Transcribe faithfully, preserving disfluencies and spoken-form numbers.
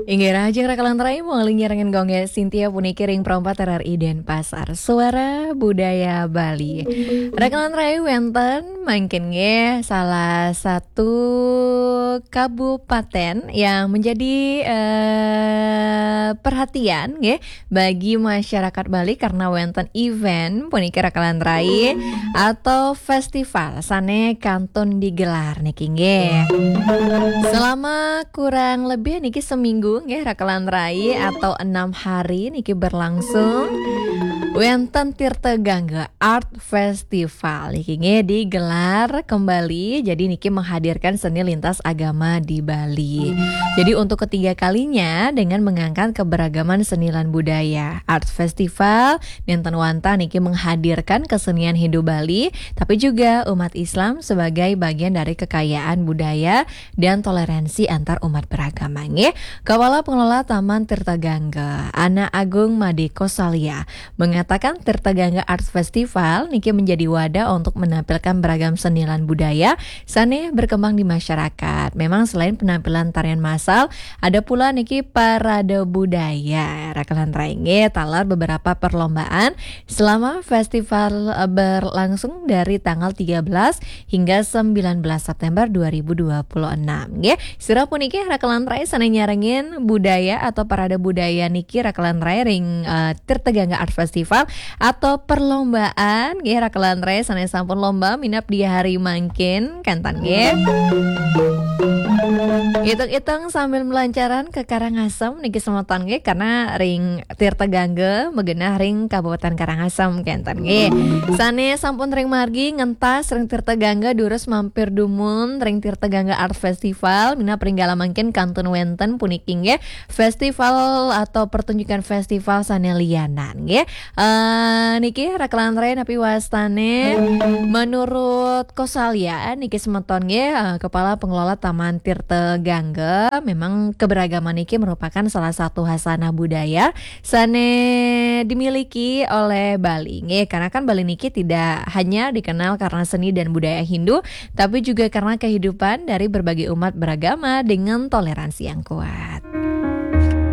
Inggih rahajeng Raka lan Rai, malih nyarengin Gung Sintia puniki ring Pro empat R R I Denpasar. Suara Budaya Bali. Raka lan Rai, wenten mangkin nggih salah satu kabupaten yang menjadi, eh, perhatian nggih bagi masyarakat Bali karena wenten event puniki Raka lan Rai atau festival sane kantun digelar niki nggih. Selama kurang lebih niki seminggu nggih Raka lan Rai atau enam hari niki berlangsung wenten Tirta Gangga Art Festival niki nggih digelar kembali. Jadi niki menghadirkan seni lintas agama di Bali. Jadi untuk ketiga kalinya dengan mengangkat keberagaman seni lan budaya, Art Festival nenten wantah niki menghadirkan kesenian Hindu Bali, tapi juga umat Islam sebagai bagian dari kekayaan budaya dan toleransi antar umat beragama nggih. Kepala Pengelola Taman Tirta Gangga, Ana Agung Made Kosalia, mengatakan Tirta Gangga Art Festival niki menjadi wadah untuk menampilkan beragam seni lan budaya sane berkembang di masyarakat. Memang selain penampilan tarian massal, ada pula niki parade budaya. Raka lan Rai nggih, taler beberapa perlombaan selama festival, eh, berlangsung dari tanggal tiga belas hingga sembilan belas September dua ribu dua puluh enam nggih. Sira puniki Raka lan Rai sane nyarengin budaya atau parade budaya niki Raka lan Rai ring, eh, Tirta Gangga Art Festival atau perlombaan nggih Raka lan Rai sane sampun lomba minab di hari mangkin kenten nggih. Hitung-hitung sambil melancaran ke Karangasem niki semeton nggih karena ring Tirta Gangga magenah ring Kabupaten Karangasem kenten nggih. Sane sampun ring margi ngentas ring Tirta Gangga durus mampir dumun ring Tirta Gangga Art Festival minab ring galah mangkin kantun wenten puniki nggih festival atau pertunjukan festival sane lianan nggih. Eh, niki Raka lan Rai napi wastane menurut Kosalia niki semeton nggih, eh, Kepala Pengelola Taman Tirta Gangga, memang keberagaman niki merupakan salah satu hasanah budaya sane dimiliki oleh Bali nggih. Karena kan Bali niki tidak hanya dikenal karena seni dan budaya Hindu, tapi juga karena kehidupan dari berbagai umat beragama dengan toleransi yang kuat.